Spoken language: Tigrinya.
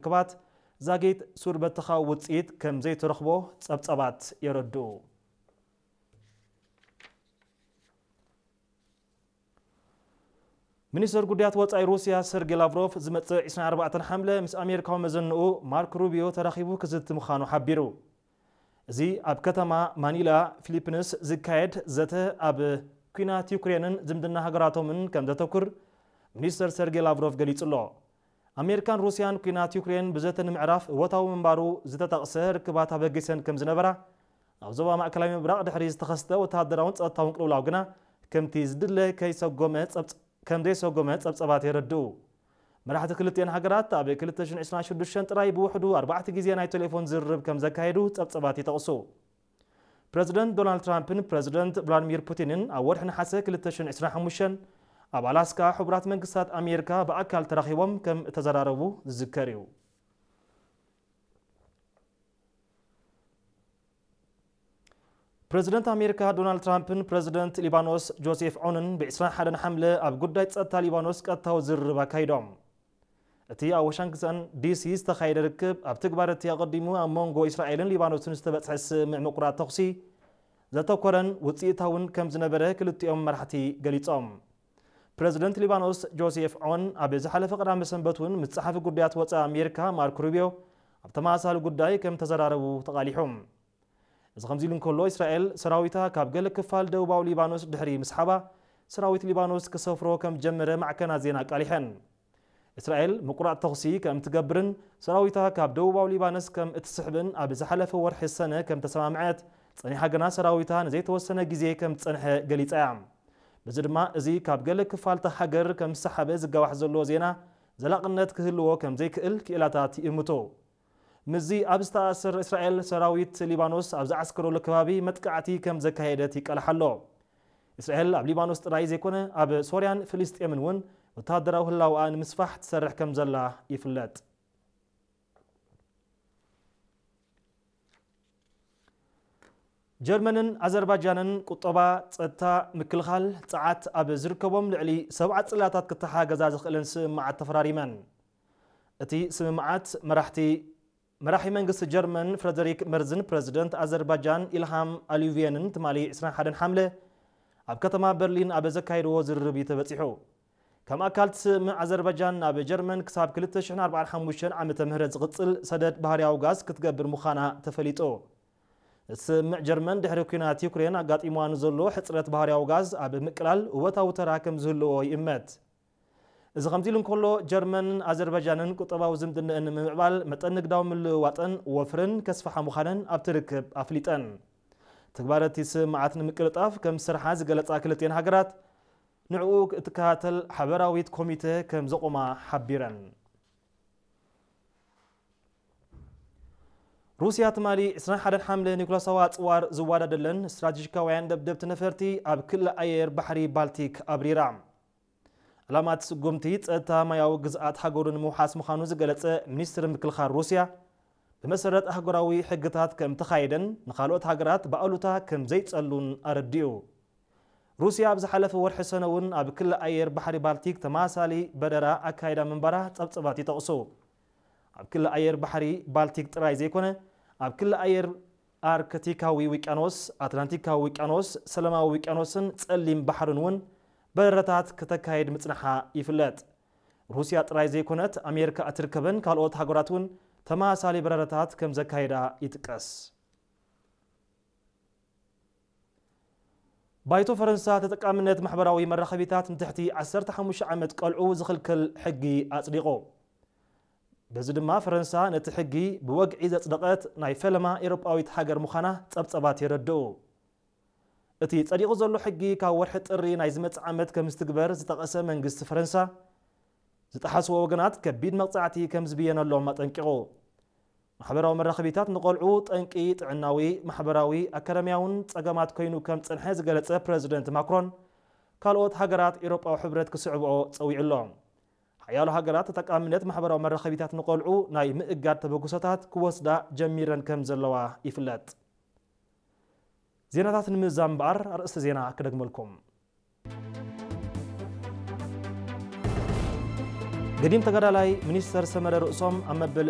ርክባት ዛጊት ሱር በተኻዊ ውጽኢት ከም ዘይተረኽቦ ጸብጸባት የረድኡ። ሚኒስተር ጉዳያት ወጻኢ ሩስያ ሰርጌ ላቭሮቭ ዝመጽእ ዕስራን ኣርባዕተን ሓምለ ምስ ኣሜሪካዊ መዘንኡ ማርክ ሩቢዮ ተራኺቡ ክዝቲ ምዃኑ ሓቢሩ። እዚ ኣብ ከተማ ማኒላ ፊሊፒንስ ዝካየድ ዘተ ኣብ ኲናት ዩክሬንን ዝምድና ሃገራቶምን ከም ዘተኩር ሚኒስተር ሰርጌ ላቭሮቭ ገሊጹ ኣሎ። ኣሜሪካን ሩስያን ኲናት ዩክሬን ብዘተ ንምዕራፍ እወታዊ ምንባሩ ዝተጠቕሰ ርክባት ኣበጊሰን ከም ዝነበራ፣ ኣብ ዞባ ማእከላይ ምብራቕ ድሕሪ ዝተኸስተ ወተሃደራውን ጸጥታውን ቅልውላው ግና ከምቲ ዝድለ ከይሰጎመ ጸብጽ-፣ ከም ዘይሰጎመ ጸብጸባት የረድኡ። መራሕቲ ክልቲኤን ሃገራት ኣብ ክልተ ሽሕን ዕስራን ሽዱሽተን ጥራይ ብውሕዱ ኣርባዕተ ግዜ ናይ ቴሌፎን ዝርርብ ከም ዘካየዱ ጸብጸባት ይጠቕሱ። ፕረዚደንት ዶናልድ ትራምፕን ፕረዚደንት ቭላድሚር ፑቲንን ኣብ ወርሒ ነሓሰ ክልተ ሽሕን ዕስራን ሓሙሽተን ኣብ ኣላስካ ሕቡራት መንግስታት ኣሜሪካ ብኣካል ተራኺቦም ከም እተዘራረቡ ዝዝከር እዩ። ፕረዚደንት ኣሜሪካ ዶናልድ ትራምፕን ፕረዚደንት ሊባኖስ ጆሴፍ ዖንን ብዕስራን ሓደን ሓምለ ኣብ ጉዳይ ጸጥታ ሊባኖስ ቀጥታዊ ዝርርብ ኣካይዶም። እቲ ኣብ ዋሽንግተን ዲሲ ዝተኻየደ ርክብ ኣብ ትግባር እቲ ኣቐዲሙ ኣብ መንጎ እስራኤልን ሊባኖስን ዝተበጽሐ ስምምዕ ምቁራጽ ተኹሲ ዘተኮረን ውጽኢታውን ከም ዝነበረ ክልቲኦም መራሕቲ ገሊጾም። ፕረዚደንት ሊባኖስ ጆሴፍ ዖን ኣብ ዝሓለፈ ቀዳመ ሰንበት እውን ምስ ጸሓፊ ጉዳያት ወጻኢ ኣሜሪካ ማርክ ሩቢዮ ኣብ ተመሳሳሊ ጉዳይ ከም ተዘራረቡ ተቓሊሑ። እዚ ከምዚ ኢሉ እንከሎ፣ እስራኤል ሰራዊታ ካብ ገለ ክፋል ደቡባዊ ሊባኖስ ድሕሪ ምስሓባ፣ ሰራዊት ሊባኖስ ክሰፍሮ ከም ጀመረ ማዕከናት ዜና ኣቃሊሐን። እስራኤል ምቁራጽ ተኹሲ ከም ትገብርን ሰራዊታ ካብ ደቡባዊ ሊባኖስ ከም እትስሕብን ኣብ ዝሓለፈ ወርሒ ሰነ ከም ተሰማምዐት ጸኒሓ ግና ሰራዊታ ንዘይተወሰነ ግዜ ከም ዝጸንሐ ገሊጻ እያ። በዚ ድማ እዚ ካብ ገለ ክፋልታ ሃገር ከም ዝሰሓበ ዝጋዋሕ ዘሎ ዜና ዘላቕነት ክህልዎ ከም ዘይክእል ክኢላታት ይእምቱ። ምስዚ ኣብ ዝተኣሳሰር እስራኤል ሰራዊት ሊባኖስ ኣብ ዝዓስከረሉ ከባቢ መጥቃዕቲ ከም ዘካየደት ይቃላሕ ኣሎ። እስራኤል ኣብ ሊባኖስ ጥራይ ዘይኮነ ኣብ ሶርያን ፍልስጤምን እውን ወተሃደራዊ ህላውኣ ንምስፋሕ ትሰርሕ ከም ዘላ ይፍለጥ። ጀርመንን ኣዘርባጃንን ቁጠባ፣ ጸጥታ፣ ምክልኻል፣ ጸዓት ኣብ ዝርከቦም ልዕሊ ሰብዓ ጽላታት ክተሓጋገዛ ዝኽእለን ስምምዓት ተፈራሪመን። እቲ ስምምዓት መራሕቲ፣ መራሒ መንግስቲ ጀርመን ፍረደሪክ መርዝን ፕረዚደንት ኣዘርባጃን ኢልሃም ኣሊቭየንን ትማሊ ዕስራን ሓደን ሓምለ ኣብ ከተማ በርሊን ኣብ ዘካየድዎ ዝርርብ እዩ ተበጺሑ። ከም ኣካል እቲ ስምምዕ ኣዘርባጃን ናብ ጀርመን ክሳብ ክልተ ሽሕን ኣርባዓን ሓሙሽተን ዓመተ ምህረት ዝቕጽል ሰደድ ባህርያዊ ጋዝ ክትገብር ምዃና ተፈሊጡ። እቲ ስምምዕ ጀርመን ድሕሪ ኲናት ዩክሬን ኣጋጢምዋ ንዘሎ ሕጽረት ባህርያዊ ጋዝ ኣብ ምቅላል እወታዊ ተራ ከም ዝህልዎ ይእመት። እዚ ከምዚ ኢሉ እንከሎ፣ ጀርመንን ኣዘርባጃንን ቁጠባዊ ዝምድነአን ንምምዕባል መጠን ንግዳዊ ምልውዋጥን ወፍርን ከስፍሓ ምዃነን ኣብቲ ርክብ ኣፍሊጠን። ትግባረ እቲ ስምምዓት ንምቅልጣፍ ከም ዝሰርሓ ዝገለጻ ክልቲኤን ሃገራት፣ ንዕኡ እትከታተል ሓበራዊት ኮሚተ ከም ዘቑማ ሓቢረን። ሩስያ ትማሊ ዕስራን ሓደን ሓምለ ኒኩለሳዊ ኣጽዋር ዝወዳደለን ስትራቴጂካውያን ደብደብቲ ነፈርቲ ኣብ ክሊ ኣየር ባሕሪ ባልቲክ ኣብሪራ። ዕላማ እቲ ስጉምቲ ጸጥታ ማያዊ ግዝኣት ሃገሩ ንምውሓስ ምዃኑ ዝገለጸ ሚኒስትሪ ምክልኻል ሩስያ፣ ብመሰረት ኣህጉራዊ ሕግታት ከም ተኻየደን ንኻልኦት ሃገራት ብኣሉታ ከም ዘይጸሉን ኣረዲኡ። ሩስያ ኣብ ዝሓለፈ ወርሒ ሰነ እውን ኣብ ክሊ ኣየር ባሕሪ ባልቲክ ተመሳሳሊ በረራ ኣካይዳ ምንባራ ጸብጸባት ይጠቕሱ። ኣብ ክሊ ኣየር ባሕሪ ባልቲክ ጥራይ ዘይኮነ፣ ኣብ ክሊ ኣየር ኣርክቲካዊ ውቅያኖስ፣ ኣትላንቲካዊ ውቅያኖስ፣ ሰላማዊ ውቅያኖስን ጸሊም ባሕርን እውን በረራታት ከተካይድ ምጽንሓ ይፍለጥ። ሩስያ ጥራይ ዘይኮነት፣ ኣሜሪካ እትርከበን ካልኦት ሃገራት እውን ተመሳሳሊ በረራታት ከም ዘካይዳ ይጥቀስ። ባይቶ ፈረንሳ ተጠቃምነት ማሕበራዊ መራኸቢታት ንትሕቲ ዓሰርተ ሓሙሽተ ዓመት ቆልዑ ዝኽልክል ሕጊ ኣጽዲቑ። በዚ ድማ ፈረንሳ ነቲ ሕጊ ብወግዒ ዘጽደቐት ናይ ፈለማ ኤውሮጳዊት ሃገር ምዃና ጸብጸባት የረድኡ። እቲ ጸዲቑ ዘሎ ሕጊ ካብ ወርሒ ጥሪ ናይ ዝመጽእ ዓመት ከም ዝትግበር ዝጠቐሰ መንግስቲ ፈረንሳ፣ ዝጠሓስዎ ወገናት ከቢድ መቕጻዕቲ ከም ዝብየነሎም ኣጠንቂቑ። ማሕበራዊ መራኸቢታት ንቆልዑ ጠንቂ ጥዕናዊ፣ ማሕበራዊ፣ ኣካዳሚያውን ጸገማት ኮይኑ ከም ጸንሐ ዝገለጸ ፕረዚደንት ማክሮን፣ ካልኦት ሃገራት ኤውሮጳዊ ሕብረት ክስዕብኦ ጸዊዑ ኣሎ። ሓያሎ ሃገራት ተጠቃምነት ማሕበራዊ መራኸቢታት ንቆልዑ ናይ ምእጋድ ተበግሶታት ክወስዳ ጀሚረን ከም ዘለዋ ይፍለጥ። ዜናታት ንምዝዛም እምበኣር ኣርእስቲ ዜና ክደግመልኩም። ገዲም ተጋዳላይ ሚኒስተር ሰመረ ርእሶም ኣብ መበል